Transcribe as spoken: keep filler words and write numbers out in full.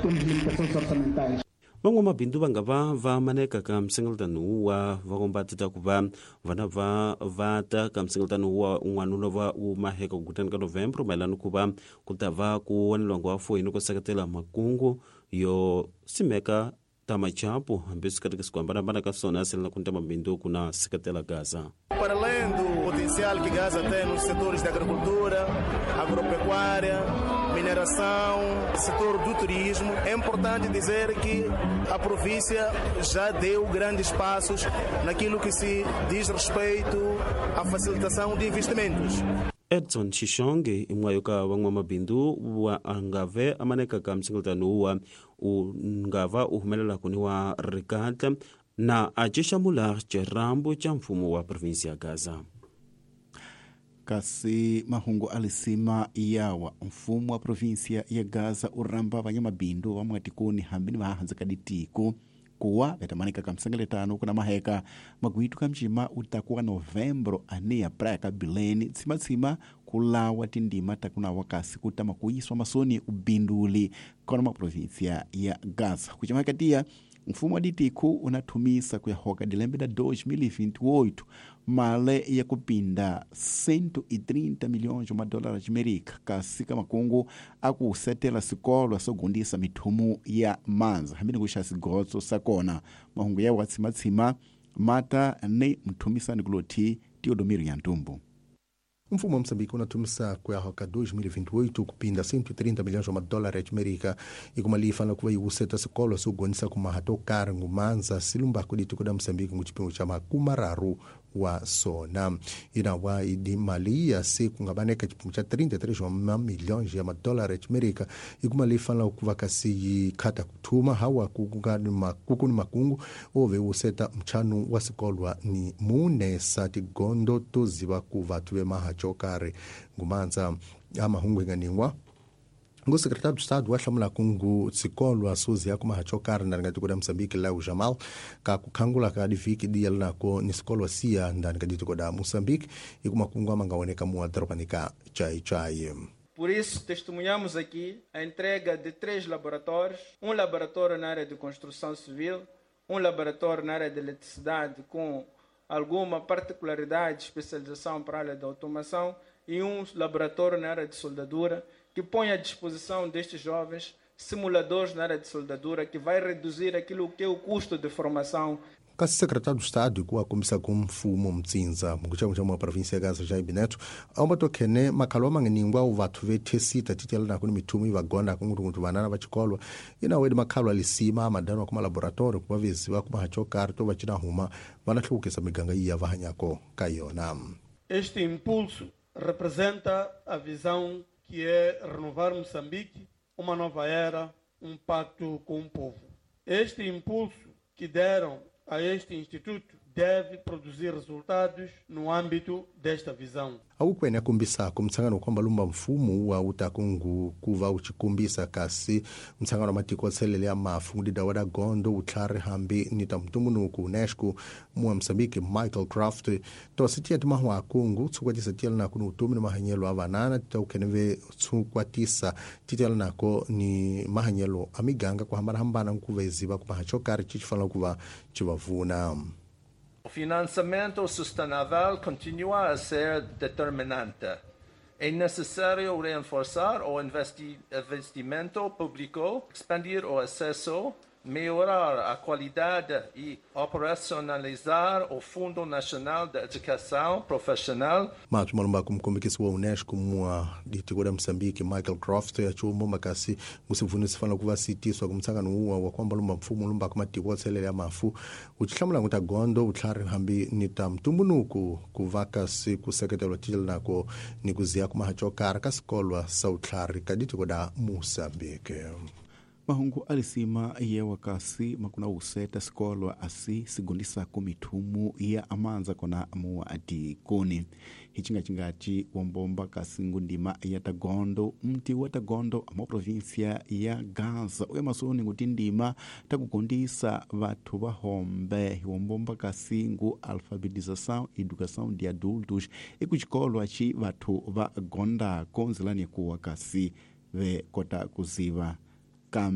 Temos limitações orçamentais. Van'wamabindzu va nga va va maneka ka msengeletano wa vakomba tita ku va vana va va ta ka msengeletano wa un'wana va wu maheka ku kutani ka Novembro mayelana ku va ku ta va ku wanelwango wa foyini ku seketela makungu yo simeka ta machapu hambi swi katekisi ku hambanahambana ka swona selana ku ta mabindzu ku na seketela Gaza. Para além do potencial que Gaza tem nos setores da agricultura, agropecuária, mineração, setor do turismo, é importante dizer que a província já deu grandes passos naquilo que se diz respeito à facilitação de investimentos. Edson Xixonge imwayo ka van'wamabindzu wa angave amaneka ka msengeletano wa u ngava u humelela kuni wa rikatla na acixamula xirambu xa mfumo wa provinsi ya Gaza. Kasi mahungu alisima yawa mfumo wa provinsia ya Gaza uramba vanyamabindu va mwatikoni hambi ni vahanze ka ditiko kuwa vetamanika ka msengeletano kuna maheka magwitu ka mcima utakuwa Novembro ania praia ka Bilene tsimatsima kulawa tindima takunawa kasi kutama kuyiswa masoni ubinduli kona ma provinsia ya Gaza kuchamakatia mfumo wa ditiko unathumisa kuyahoka dilembe da dois mil e vinte e oito male ya kupinda cento e trinta milhões de dólares amerika kasi ka makungu akusetela sikolo sogundisa mithumu ya manza hambini kuxa sigotso sakona mahungu ya watsimatsima mata ni mthumisani kuloti Teodomiro Nyantumbu. Mfumo wa Moçambique unatumisa kuyahoka dois mil e vinte e oito kupinda cento e trinta milhões de dólares amerika e kuma lifana kuva iwuseta sikolo sogonisa kumahato kari ngumanza silumba kudituko da Moçambique nguchipimo cha makumararu wa sona inawa idi mali ya se kungabaneka chipimo cha trinta e três milhões de dólares amerika e kuma lifana kuva kasi khata kuthuma hawa kukuni makuku ni makungu ove useta mchanu wa sikolwa ni mune sati gondo toziva kuva tuve maha chokare ngumanza amahungu inganingwa ngu secretário do Estado wa kungu sikolwa suzi ya kumaha chokare ndani ka da Moçambique Léo Jamal ka kukhangula ka diviki dia linako ni sikolwa siya ndani ka ditiko da Moçambique e kumakungu amangaoneka mu adropanika chai chai. Por isso, testemunhamos aqui a entrega de três laboratórios, um laboratório na área de construção civil, um laboratório na área de eletricidade com alguma particularidade de especialização para a área da automação e um laboratório na área de soldadura, que põe à disposição destes jovens simuladores na área de soldadura, que vai reduzir aquilo que é o custo de formação. Kasi secretário do Estado ku akombisa ku mfumo mtsinza mukuchamo cha mwa província ya Gaza Jaime Neto aumatokhene makhalo amangeningwa uvathu vethesita titela nako ni mithumu ivagonda kungutungutu vanana va chikolwa inawedi makhalo alisima amadanwa kuma laboratório kuva veziva kuma chokari to va cina huma vana hluvukisa miganga iya va hanyako ka yona. Este impulso representa a visão que é renovar Moçambique, uma nova era, um pacto com o povo. Este impulso que deram a este instituto deve produzir resultados no âmbito desta visão. Awukwene akumbisa kumtsangano kwamba lumba mfumo wa utakungu kuva uchikumbisa kasi mtsangano matiko tselele ya mafu ndida wada gondo utlhari hambi nita mtumbunuku UNESCO muwa Mozambique Michael Craft tositia timahwa akungu tsukwatisa tiyela nako ni utumi ni mahanyelo a vanana titaukeneve tsukwatisa titiyela nako ni mahanyelo a miganga kuhambanahambana nkuva iziva kumaha chokari chichifanela kuva chivavuna. O financiamento sustentável continua a ser determinante. É necessário reforçar o investi- investimento público, expandir o acesso, melhorar a qualidade e operacionalizar o Fundo Nacional de Educação Profissional. Mato malumba kumkombekisi wa UNESCO mwa ditiko da Moçambique Michael Croft achumo makasi musivuni sifana kuva sitiswa kumtsangano uwa wa kwamba lumba mfumo lumba kumatiko tselele ya mafu uchihlamula nguta gondo utlhari hambi nita mtumbunuku kuvaka si kuseketelwa tijela nako ni kuziya kumahachokara kasikolwa sa utlhari ka ditiko da Moçambique. Mahungu alisima yewa kasi makuna useta sikolwa asi sigundisa kumithumu ya amanza kona muwa adikoni hichingachingati wombomba kasi ngundima ya tagondo mti wa tagondo mo província ya Gaza uya masoni nguti ndima takugundisa vathu vahombe wombomba kasi ngu alfabetização e educação de adultos ikuchikolwa chi vathu va gondako nzilani kuwa kasi ve kota kuziva